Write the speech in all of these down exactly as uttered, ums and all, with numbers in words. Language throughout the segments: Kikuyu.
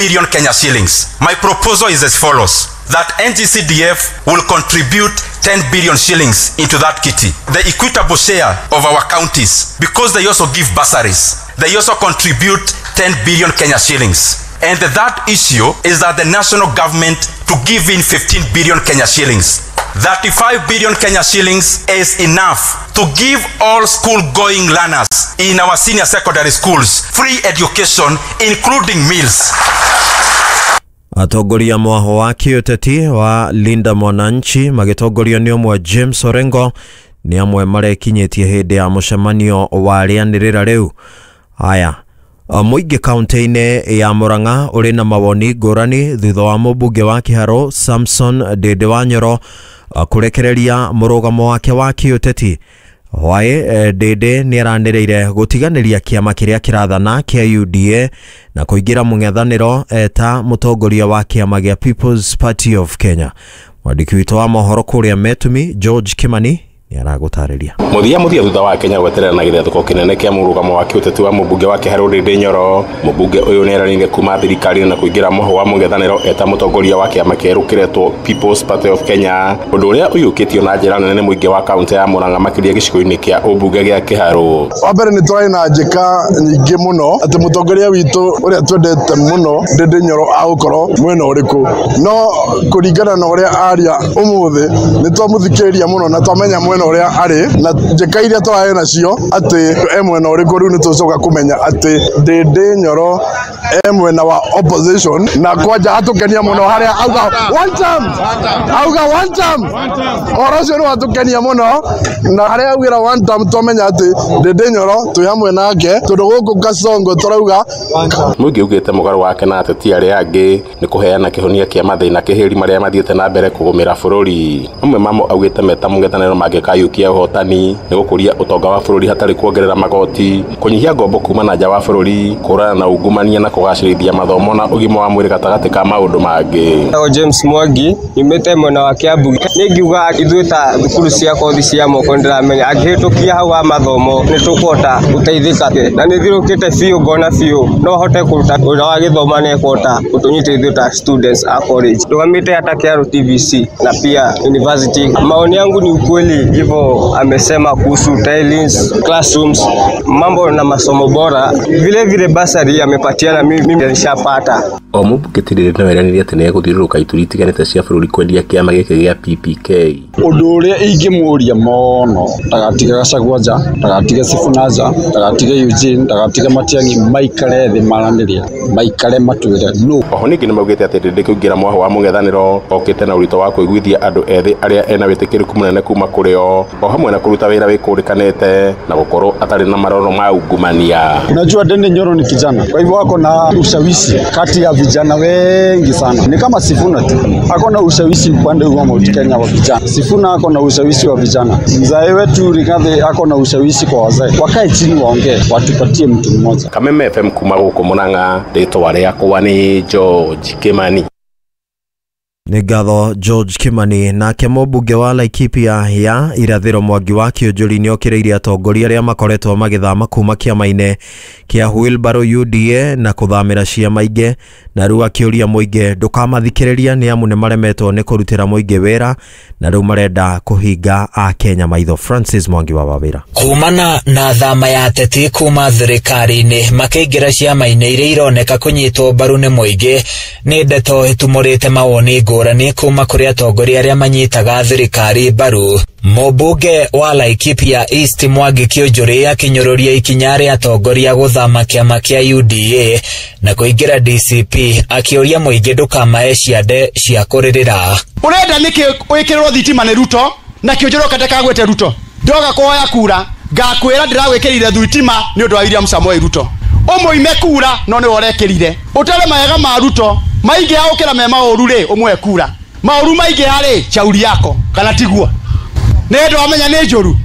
billion Kenya shillings. My proposal is as follows: that N G C D F will contribute ten billion shillings into that kitty. The equitable share of our counties, because they also give bursaries, they also contribute ten billion Kenya shillings. And the third issue is that the national government to give in fifteen billion Kenya shillings. thirty-five billion Kenya shillings is enough to give all school-going learners in our senior secondary schools free education, including meals. Atongoria mwaho wa kĩũteti wa Linda Mwananchi magĩtongorio nĩ ũmwe James Orengo nĩ amwe marekinyĩtie hĩndĩ ya mũcemanio wa rĩanĩrĩra rĩu. Haya, mũingĩ kaunti-inĩ ya Murang'a ũrĩ na mawoni ngũrani thutha wa mũmbunge wa Kĩharũ Samson Ndindi Wanyoro kũrekereria mũrũgamo wake wa kĩũteti. Hwaĩ Ndindi nĩaranĩrĩire gũtiganĩria kĩama kĩrĩa kĩrathana kĩa U D A na kũingĩra mũng'ethanĩro eta mũtongoria wa kĩama gĩa People's Party of Kenya. Mwandĩki witũ wa mohoro kũrĩa Metumi George Kimani nĩaragũtarĩria. Muthia muthia thutha wa Kenya gweterera na gĩthethũko kĩnene kĩa mũrũgamo wa kĩũteti wa mũmbunge wa Kĩharũ Ndindi Nyoro. Mũmbunge ũyũ nĩeranĩire kuma thirikari na kũingĩra mũhũ wa mũng'ethanĩro eta mũtongoria wa kĩama kĩerũ kĩretwo People's Party of Kenya, ũndũ ũrĩa ũiyũkĩtio na njĩra nene nĩ mũingĩ wa kaunti ya Murang'a makĩria gĩcigo-inĩ kĩa ũmbunge gĩa Kĩharũ. Wa mbere nĩ tũrarĩ na njĩka nyingĩ mũno atĩ mũtongoria witũ ũrĩa twendete mũno Ndindi Nyoro agũkorwo mwena ũrĩkũ, no kũringana na ũrĩa aria ũmũthĩ nĩ twamũthikĩrĩria mũno na twamenya mwena ũrĩa arĩ na njĩka iria tũrarĩ nacio atĩ e mwena ũrĩkũ. Rĩu nĩ tũcoka kũmenya atĩ Ndindi Nyoro e mwena wa opposition, na kwanja atũkenia mũno harĩa auga one term, auga one term, ũhoro ũcio nĩ watũkenia mũno, na harĩa augĩra one term twamenya atĩ Ndindi Nyoro twĩ hamwe nake tondũ gũkũ Kasongo tũrauga. Mũingĩ ugĩte mũgarũ wake na ateti arĩa angĩ nĩ kũheana kĩhonia kĩa mathĩna kĩhĩri marĩa mathiĩte na mbere kũgũmĩra bũrũri. Mamwe mamo augĩte meta mũng'ethanĩro mangĩkayũkia ũhotani nĩ gũkũria ũtonga wa bũrũri hatarĩ kuongerera magoti, kũnyihia ngombo kuma na nja wa bũrũri, kũhũrana na ungumania na kũgacĩrithia mathomo na ũgima wa mwĩrĩ gatagatĩ ka maũndũ mangĩ. James Mwangi nyumĩte mwena wa Kiambu. Nĩ ngiuga ithuĩ ta thukuru cia kothi cia moko nĩndĩramenya angĩhĩtũkia hau wa mathomo nĩ tũkũhota gũteithĩka, na nĩ thirũkĩte biũ ngona biũ no hote kũruta wĩra wa gĩthomo na ĩkũhota gũtũnyita ithuĩ ta students a college. Ndũgamĩte hata Kĩharũ T V C na pia university. Maoni yangu ni ukweli hivyo amesema kuhusu tilings, classrooms, mambo na masomo bora, vile vile basari amepatiana, mimi nishapata. O mũmbunge ti Ndindi no eranĩire atĩ nĩegũthiũrũrũka ituri itiganĩte cia bũrũri kwendia kĩama gĩkĩ gĩa P P K. Ũndũ ũrĩa ingĩmũria mũno ndagatige Gachagua nja, ndagatige Sifuna nja, ndagatige Eugene, ndagatige Matiang'i, maikare thĩ maranĩrie, maikare matwĩre no. Oho ningĩ nĩmaugĩte atĩ Ndindi kũingĩra mwaho wa mũng'ethanĩro okĩte na ũritũ wa kũiguithia andũ ethĩ arĩa ena wĩtĩkĩrĩku mũnene kuma kũrĩ o, o hamwe na kũruta wĩra wĩkũrĩkanĩte na gũkorwo atarĩ na maroro ma ungumania. Unajua Ndindi Nyoro ni kijana, kwa hivyo ako na ushawishi kati ya vijana wengi sana. Ni kama Sifuna tu ako na ushawishi upande wa Mount Kenya wa vijana. Sifuna ako na ushawishi wa vijana. Mzee wetu Rigathi ako na ushawishi kwa wazee. Wakae chini waongee, watupatie mtu mmoja. Kameme F M kuma gũkũ Murang'a, rĩtwa rĩakwa nĩ George Kimani. Nĩ ngatho George Kimani. Nake mũmbunge wa Laikipia ya Irathĩro Mwangi wa Kĩũnjũri nĩokĩrĩirie atongoria arĩa makoretwo magĩthama kuma kĩama-inĩ kĩa Wheelbarrow U D A na kũthamĩra ciama ingĩ, na rĩu akĩũria mũingĩ ndũkamathikĩrĩria nĩ amu nĩmaremetwo nĩ kũrutĩra mũingĩ wĩra na rĩu marenda kũhinga Akenya maitho. Francis Mwangi wa Wawĩra. Kumana na thama ya ateti kuma thirikari-inĩ makĩingĩra ciama-inĩ iria ironeka kũnyitwo mbaru nĩ mũingĩ nĩ ndeto ĩtumũrĩte mawoni ngũrani kuma kũrĩ atongoria arĩa manyitaga thirikari mbaru. Mũmbunge wa Laikipia East Mwangi Kĩũnjũri akĩnyũrũria ikinya rĩa atongoria gũthama kĩama kĩa U D A na kũingĩra D C P akĩũria mũingĩ ndũkamae ciande cia kũrĩrĩra. Ũrenda nĩkĩ wĩkĩrĩrwo thitima nĩ Ruto na Kĩũnjũri okate kagwĩte Ruto? Ndoga kũhoya kura ngakwĩra ndĩragwĩkĩrire thitima nĩ ũndũ wa William Samoei Ruto. Ũmũime kura no nĩwe ũrekĩrire. Ũtare mawega ma Ruto maingĩha gũkĩra me maũru rĩ, ũmũhe kura. Maũru maingĩha rĩ, shauri yako kana tiguo? Nĩ ũndũ wamenya nĩ njũru,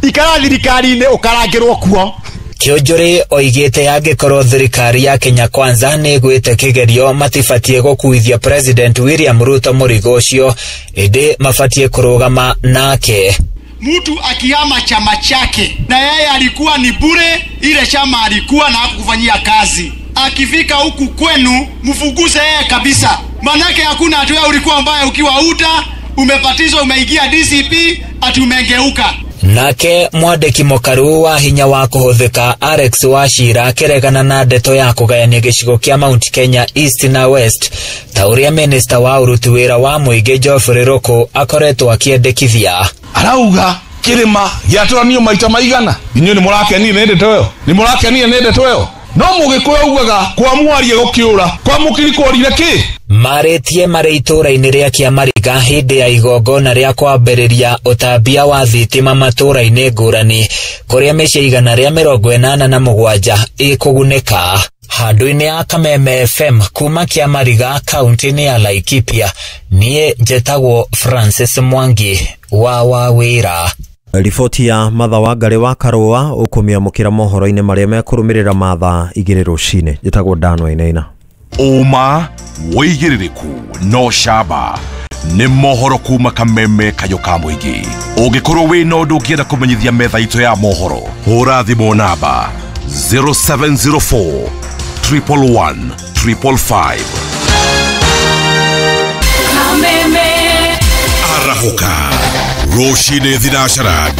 ikara thirikari-inĩ ũkarangĩrwo kuo. Kĩũnjũri oigĩte angĩkorwo thirikari ya Kenya Kwanza nĩ ĩgwĩte kĩgerio matibatiĩ gũkuithia President William Ruto mũrigo ũcio, ĩndĩ mabatiĩ kũrũgama nake. Mtu akihama chama chake na yeye alikuwa ni bure, ile chama alikuwa na hakukufanyia kazi, Akifika huku kwenu mfukuze yeye kabisa, manake hakuna hatua. Ulikuwa mbaya ukiwa U D A, umepatizwa, umeingia D C P, ati umegeuka. Nake mwandĩki mũkaru wa hinya wa kũhũthĩka Alex Wachira akĩregana na ndeto ya kũgayania gĩcigo kĩa Mount Kenya East na West ta ũrĩa minista wa ũruti wĩra wa mũingĩ Geoffrey Ruku akoretwo akĩendekithia. Arauga kĩrĩma gĩatũranio maita maigana. Inyuĩ nĩ mũrakenire nĩ ndeto ĩyo? Nĩ mũrakenire nĩ ndeto ĩyo? No mũgĩkũyũ augaga kwa mwaria gũkĩũra kwa mũkiri kworire kĩ. Marĩtie marĩ itũũra-inĩ rĩa Kĩamariga hĩndĩ ya igongona rĩa kwambĩrĩria ũtambia wa thitima matũũra-inĩ ngũrani kũrĩa mĩciĩ igana rĩa mĩrongo ĩnana na mũgwanja ĩkũgunĩka. Handũ-inĩ ya Kameme F M kuma Kĩamariga, kaunti-inĩ ya Laikipia, niĩ njetagwo Francis Mwangi wa Wawĩra. Riboti ya Matha wa Ngarĩ wa Karũa ũkũmĩamũkĩra mohoro-inĩ marĩa mekũrũmĩrĩra mathaa igĩrĩ rũcinĩ. Njĩtagwo Dan Wainaina. Ũma, wĩigĩrĩrĩku no camba nĩ mohoro kuma Kameme, kayũ ka mũingĩ. Ũngĩkorwo wĩna ũndũ ũngĩenda kũmenyithia metha itũ ya mohoro, hũra thimũ namba zero seven zero four triple one triple five. Arahũka rũcinĩ thinacara.